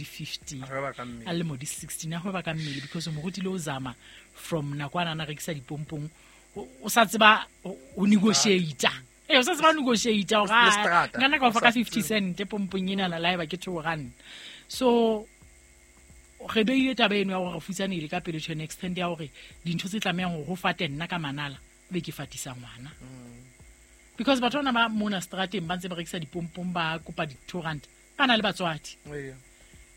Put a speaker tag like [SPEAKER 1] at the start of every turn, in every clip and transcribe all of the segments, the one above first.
[SPEAKER 1] di-15,
[SPEAKER 2] A hweba ka mmele.
[SPEAKER 1] a lemo di 16, a hweba ka mmele, because o mo rutile o zama from nako a na rekisa dipompong, o sa tseba o negotiate. Ee, o sa tseba ho negotiate hore,
[SPEAKER 2] Le
[SPEAKER 1] ah,
[SPEAKER 2] seterata.
[SPEAKER 1] nka nna ka o fa
[SPEAKER 2] O
[SPEAKER 1] ka
[SPEAKER 2] sa
[SPEAKER 1] 50 cent pompong enana, la eba ke 2 rand. So re beile taba eno ya gore re futsanehile ka pele to an extent ya gore dintho tse tlamehang gore go fate nna ka manala, be ke fatisa ngwana, because batho bana ba mona strateng ba ntse ba rekisa dipompong, ba kopa di-2 rand, ba na le batswadi.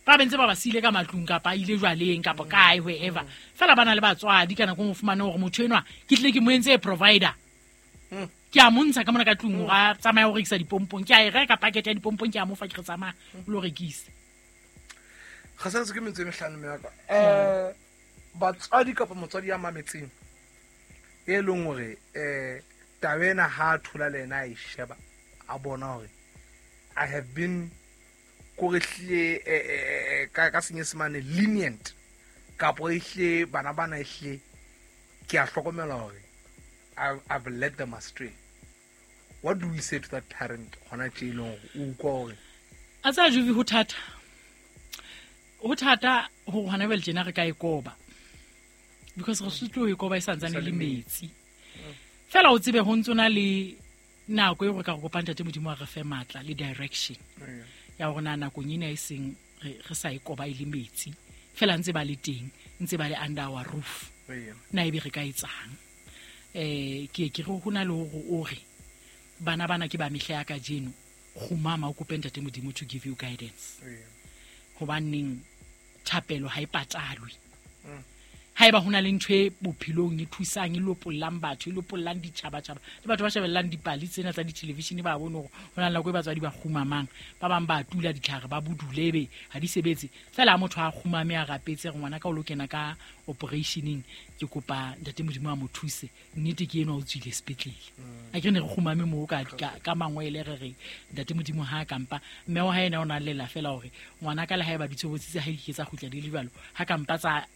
[SPEAKER 1] Ba bentse ba ba siile ka matlung, kapa a ile jwaleng, kapa kae, wherever, fela ba na le batswadi. Ka nako e nngwe o fumane gore motho enwa ke tlile ke mo entse provider, ke a montsha ka mona ka tlung gore a tsamaya go rekisa dipompong, ke a e reka packet ya dipompong, ke a mofa, ke re tsamaya o lo rekise.
[SPEAKER 2] Ga santse ke metso e metlhano meaka, batswadi kapa motswadi ya mametseng e leng gore taba ena ha a thola le ena a e sheba, a bona gore I have been kore hlile ka Senyesemane lenient, kapo e hlile bana bana e hlile ke a hlokomela gore I've led them astray, what do we say to that parent gona tše e leng gore o utlwa gore
[SPEAKER 1] A tsaya juvi, ho thata, ho thata gore gona bjale tjena re ka e koba, because re sutlo e koba e santsane le metsi fela. O tsebe ho ntse o na le nako e gore ka go kopang Ntate Modimo a re fe matla le direction ya gore na nakong ena e seng re sa e koba e le metsi fela, ntse ba le teng, ntse ba le under our roof, na ebe re ka etsang? Ke ke re ho na le hore o re bana bana ke ba mehla ya kajeno, kgumama o kope Ntate Modimo to give you guidance, hobaneng thapelo ha e patalwe. Ha eba ho na le ntho e bophelong e thusang, e lopollang batho, e lopollang ditjhabatjhaba le batho ba shebellang dipale tsena tsa dithelevishene, ba bone hore ho na le nako e batswadi ba kgumamang, ba bang ba tula ditlhare, ba bodule, ebe ha di sebetse fela. Ha motho a kgumame, a rapetse re ngwana ka o lo kena ka operationeng, ke kopa Ntate Modimo a mo thuse, nnete ke enwa o tswile sepetlele. A ke re ne re kgumame moo ka mangwele, re re Ntate Modimo ha a kampa mme wa hae ena o na lela fela hore ngwana ka le ha e ba ditshobotsi tse ha di ke tsa kgutla di le jwalo, ha kampa tsa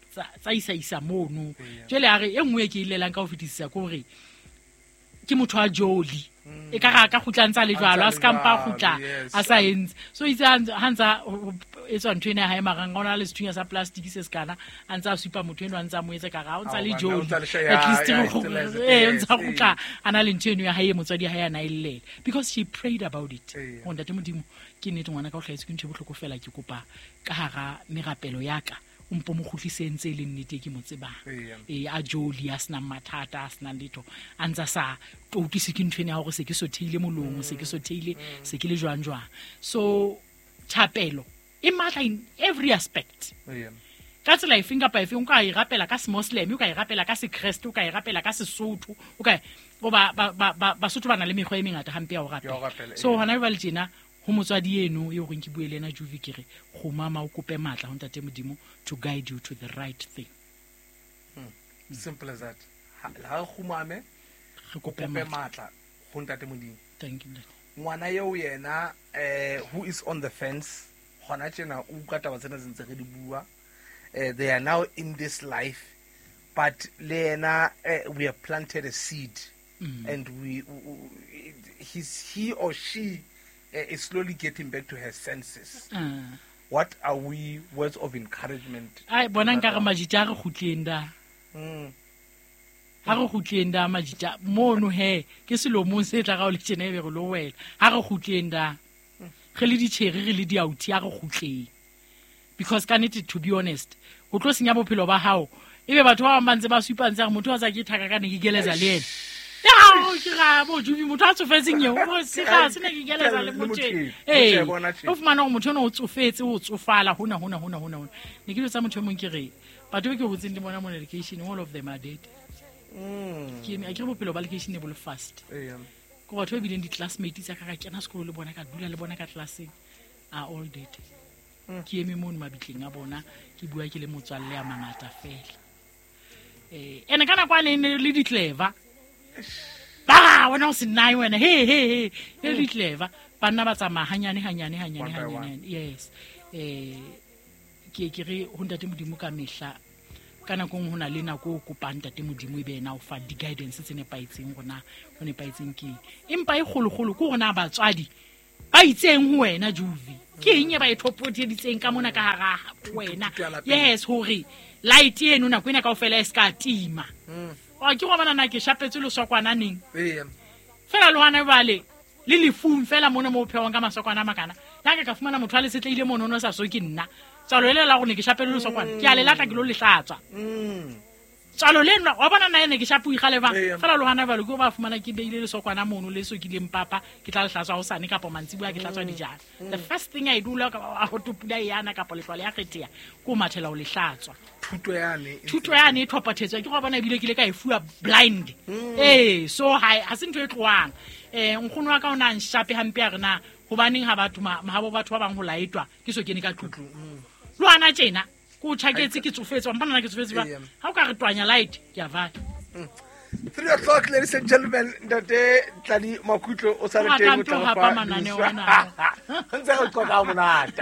[SPEAKER 1] isa mono. Jwale a re e nngwe e ke e llelang ka ho fetisisa ke hore ke motho a jolly, e ka ra ka kgutla ntse a le jwalo, a se ka mpa a kgutla a sa entse so. Itse ha ntsa etswa ntho ena ya hae marang, o na le sethunya sa plastic se sekana, a ntse a supa motho eno, a ntse a mo etsa ka ra o ntse a le
[SPEAKER 2] Ao, banna, o
[SPEAKER 1] jolly.
[SPEAKER 2] ntse a le
[SPEAKER 1] At least
[SPEAKER 2] he still has it,
[SPEAKER 1] ee, o ntse a kgutla a na le ntho eno ya hae e motswadi ya hae a na e llela, because she prayed about it. Gore Ntate Modimo, ke nnete ngwana ka o hlahetswe ke ntho e bohloko fela, ke kopa ka hara merapelo ya ka o mpo mo kgutlise ntse e le nnete e ke mo tsebang, ee, a jolly, a senang mathata, a senang letho, a ntse a sa toutlwise ke ntho ena ya hore se ke sotheile molomo, se ke sotheile, se ke le jwang jwang. So thapelo e matla in every aspect, ka tsela efeng kapa efeng. O ka e rapela ka semosleme, o ka e rapela ka sekreste, o ka e rapela ka Sesotho, o ka o ba Basotho ba na le mekgwa e mengata hampe ya ho
[SPEAKER 2] Ya ho
[SPEAKER 1] rapela.
[SPEAKER 2] rapela,
[SPEAKER 1] So
[SPEAKER 2] ee.
[SPEAKER 1] hona jwale tjena ho motswadi eno e goreng ke bue le ena juvi, ke re kgumama o kope matla ho Ntate Modimo to guide you to the right thing.
[SPEAKER 2] Simple as that. Ha re kgumame,
[SPEAKER 1] re kope
[SPEAKER 2] kope
[SPEAKER 1] matla.
[SPEAKER 2] Matla ho Ntate Modimo.
[SPEAKER 1] Thank you, ntate.
[SPEAKER 2] Ngwana eo yena who is on the fence gona tjena, o utlwa taba tsena tse ntse re di bua, they are now in this life, but le yena we have planted a seed and we, he's, he or she is slowly getting back to her senses. What are we, words of encouragement?
[SPEAKER 1] Ai, bona nka re majita a re kgutleng da. Ha re kgutleng da majita mono, he ke selomong se tla ga o le tjena, ebe re lo wela. Ha re kgutleng da, re le ditjheri, re le diauthi, ha re kgutleng, because ka nnete, to be honest, ho tlo senya bophelo ba hao, ebe batho ba bang ba ntse ba supa ntse re motho wa tsa ke thaka ka ne ke keleza le ena. Ya ke ga bo jubi, motho a tsofetseng eo o se ga se ne ke keleza le
[SPEAKER 2] Le
[SPEAKER 1] motho
[SPEAKER 2] motho
[SPEAKER 1] eno.
[SPEAKER 2] eno.
[SPEAKER 1] Ee,
[SPEAKER 2] Motho ya bona tje.
[SPEAKER 1] o fumana hore motho eno o tsofetse, o tsofala hona hona hona hona hona. Ne ke jwetsa motho e mong, ke re batho be ke hotseng le bona mona lekeisheneng, all of them are dead. Ke eme, a ke re bophelo ba lekeishene bo le fast. Ko batho ba bileng di-classmate tsa ka, ka kena sekolo le bona, ka dula le bona ka classeng, are all dead. Ke eme mono mabitleng a bona, ke bua ke le motswalle a mangata fela. Ene ka nako a ne le di-clever ba wena o se nnae wena, he he he, le di-clever banna ba tsamaya hanyane hanyane hanyane.
[SPEAKER 2] One by
[SPEAKER 1] Hanyane
[SPEAKER 2] one.
[SPEAKER 1] hanyane. Yes, ke re ho Ntate Modimo ka mehla, ka nako e nngwe ho na le nako o kopang Ntate Modimo, e be ena o fa di-guidance tse nepahetseng, rona ho nepahetseng keng, empa e kgolokgolo ke hore na batswadi Ba itseng ho wena Juvi, ke eng e ba e thopoteditseng ka mona ka hara wena?
[SPEAKER 2] Thuto ya lapeng.
[SPEAKER 1] Yes, hore light eno nako ena kaofela e se ka tima. Wa ke go bona na ke shapetswe lesokwana neng?
[SPEAKER 2] Ee.
[SPEAKER 1] Fela le hona jwale le lefung fela mona mo o phehwang ka masokwana a makana, le ha ka fumana motho a le setlehile mono, o no sa so ke nna tswalo ele la gore ne ke shapele lesokwana, ke a le latla, ke lo le hlatswa. Tswalo le nna wa bona nna ene ke shapo ikgale bang.
[SPEAKER 2] Ee.
[SPEAKER 1] Fela le hona jwale ke o ba fumana ke beile lesokwana mono le sokileng papa, ke tla le hlatswa hosane kapa mantsiboya ke hlatswa dijana. The first thing I do la ka ho topula yana kapa lehlwa le ya kgetheha, ke o mathela ho le hlatswa.
[SPEAKER 2] Thuto yane e
[SPEAKER 1] Thuto yane e thopathetswa ke go bona, ebile ke ile ka e fuwa blind. Ee, so ha se ntho e tlohang. Nkgono wa ka o na nshape hampe, a re na hobaneng ha batho ha bo batho ba bang ho laetwa ke so kene ka tlung. Le hana tjena ke o tjhaketse, ke tsofetse, wa mpona na ke tsofetse ba.
[SPEAKER 2] Ee.
[SPEAKER 1] Ha o ka re twanya light, ke a vala.
[SPEAKER 2] 3 o'clock, ladies and gentlemen. Ntate Tladi Makhutlo o sa le
[SPEAKER 1] O
[SPEAKER 2] teng, o
[SPEAKER 1] rata
[SPEAKER 2] tla
[SPEAKER 1] ho
[SPEAKER 2] re
[SPEAKER 1] hapa
[SPEAKER 2] fa
[SPEAKER 1] mananeo
[SPEAKER 2] news.
[SPEAKER 1] ana.
[SPEAKER 2] Ntse re qoqa ha monate.